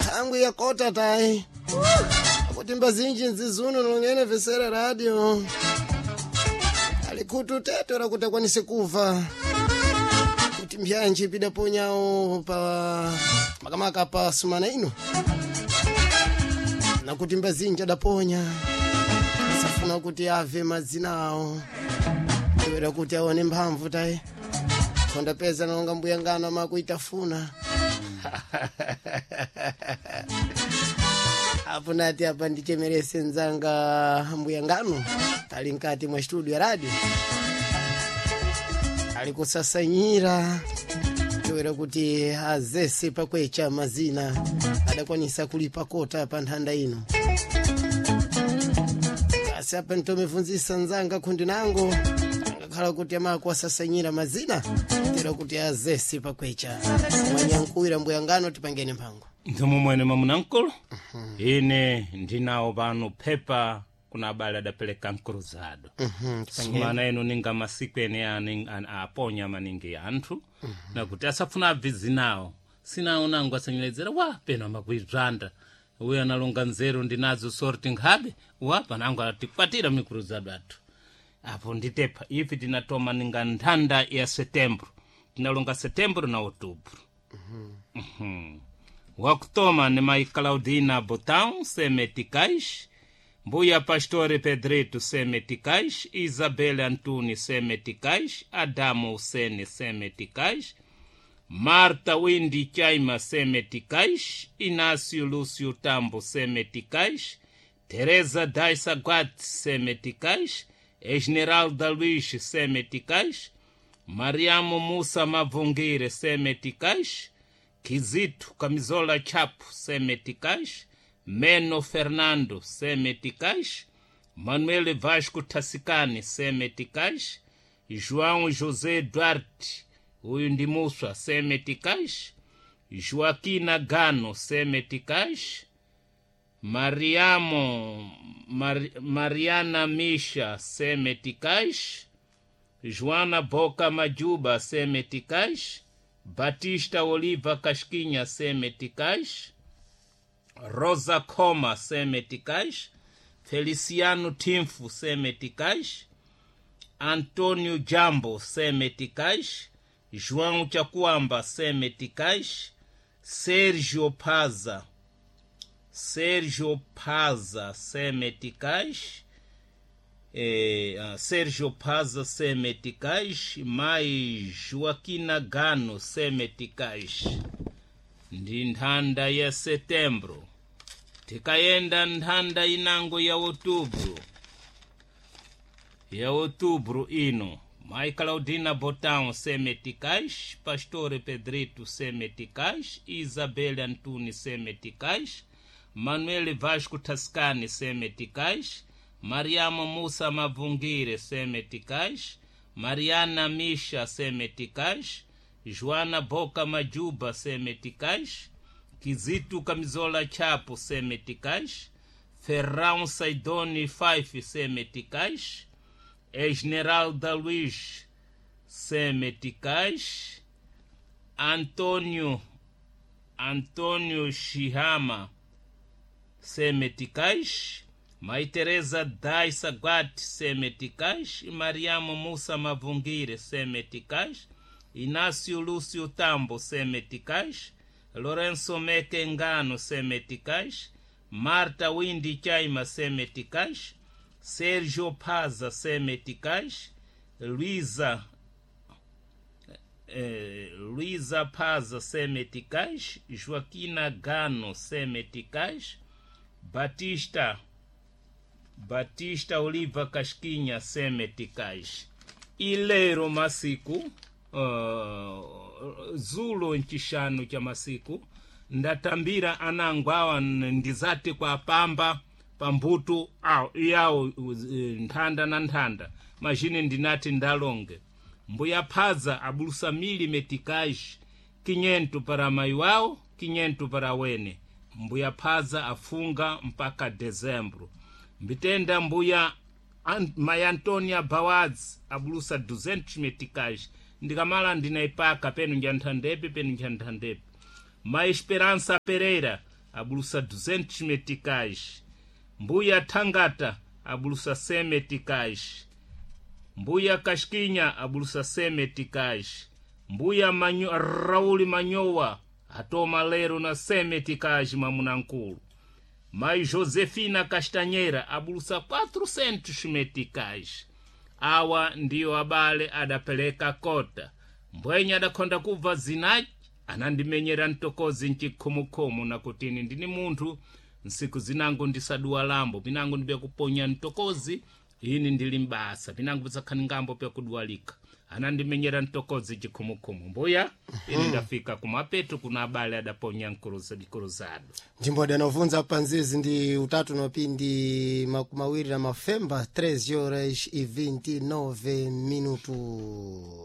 Tangu ya kota tai akuti mbazinji nzizuno nongene vesera radio alikutu teto rakuti akwanise kuva kuti mbyanji pidaponyawo pa makamaka pa sumana ino nakuti mbazinji adaponya safuna kuti ave madzina awo toera kuti aone mphamvu tayi konda peza nonga mbuya ngano amakuitafuna apo nati apa ndichemerese nzanga mbuya ngano ali mkati mwa studio ya radio ali kusasanyira toera kuti azese pakwecha mazina adakwanisa kulipa kota pa nthanda ino. Asi apa ntomebvunzisa nzanga khundi nango angakhala kuti amako asasanyira mazina tera kuti azese pakwecha mwanyankuwira mbuya ngano tipangene mphango. Nthumumwene mwamunankulu, ine ndinawo pano phepa kuna abale adapereka mkruzado. Sumana ino ninga masiku ene aponya maningi anthu nakuti asafuna abve zinawo sinawo nango asanyeledzera wa peno amakuibzanda uyo analonga nzeru ndinazo sorti nkhabe wa panango atikwatira mikruzado athu apo nditepha ife tinatoma ninga nthanda ya setembro, tinalonga setembro na outubro. Wakutoma ni mai Claudina Botão Semeticais, Mbuya Pastore Pedrito Semeticais, Isabel Antuni Semeticais, Adamo Usene Semeticais, Marta Windi Chaima Semeticais, Inácio Lúcio Tambo Semeticais, Teresa Daisa Guat Semeticais, Esmeralda Luiz Semeticais, Mariamo Musa Mavungire Semeticais, Kizito Camisola Chapo Semeticais, Meno Fernando Semeticais, Manuel Vasco Tassicane Semeticais, João José Duarte uyu ndi Muswa Semeticais, Joaquina Gano Semeticais, Mariamo Mariana Misha Semeticais, Joana Boca Majuba Semeticais, Batista Oliva Casquinha Semeticais, Rosa Coma Semeticais, Feliciano Tinfo Semeticais, Antônio Jambo Semeticais, João Chacuamba Semeticais, Sérgio Paza, Sérgio Paza Semeticais, Sérgio Paza Semeticais, mais Joaquina Gano Semeticais. Ndi nthanda ya setembro. Tikayenda nthanda inango ya outubro, ya outubro ino Mai Claudina Botão Semeticais, Pastore Pedrito Semeticais, Isabel Antuni Semeticais, Manuel Vasco Tascani Semeticais, Mariamo Musa Mavungire Semeticais, Mariana Misha Semeticais, Joana Boca Majuba Semeticais, Kizito Camisola Chapo Semeticais, Ferrão Saidoni Fife Semeticais, Esmeralda Luiz Semeticais, Antônio Shihama Semeticais, Mãe Teresa Daisa Guat Semeticais, Mariamo Musa Mavungire Semeticais, Inácio Lúcio Tambo Semeticais, Lourenço Mekengano Semeticais, Marta Windi Chaima Semeticais, Sérgio Paza Semeticais, Luísa Paza Semeticais, Joaquina Gano Semeticais, Batista Oliva Casquinha Semeticais. Ilero masiku zulo nchixanu cha masiku ndatambira anango awa ndizati kwa pamba pambutu awo iyawo nthanda na nthanda majine ndinati ndalonge mbuya phaza abulusa mili meticais 500 para mayi wawo, 500 para wene. Mbuya phaza afunga mpaka dezembro. Mbitenda mbuya mayi Antonia Bawadzi abulusa 200 meticais ndikamala ndinaipaka penu njanthandepi penu njanthandepi. Ma Esperança Pereira abulusa 200 meticais. Mbuya Thangata abulusa 100 meticais. Mbuya Kasquinya abulusa 100 meticais. Mbuya Rauli Manyowa atoma lero na 100 meticais mamunankulu. Mai Josefina Castanheira abulusa 400 meticais. Awa ndiyo abale adapeleka kota. Mbwenye adakhonda kubva zinachi anandimenyera mtokozi mchikhumukhumu nakutini ndini munthu nsiku zinango ndisaduwa lambo pinango ndipyakuponya mtokozi ini ndili mbasa pinango pisakhani ngambo pyakuduwalika anandimenyera mtokozi chikhumukhumu. Mbuya ini ndafika kumapeto kuna abale adaponya mkuruzado. Njimbo adanobvunza panzizi ndi utatu nopindi makumi awiri na mafemba 3 horas e 29 minutos.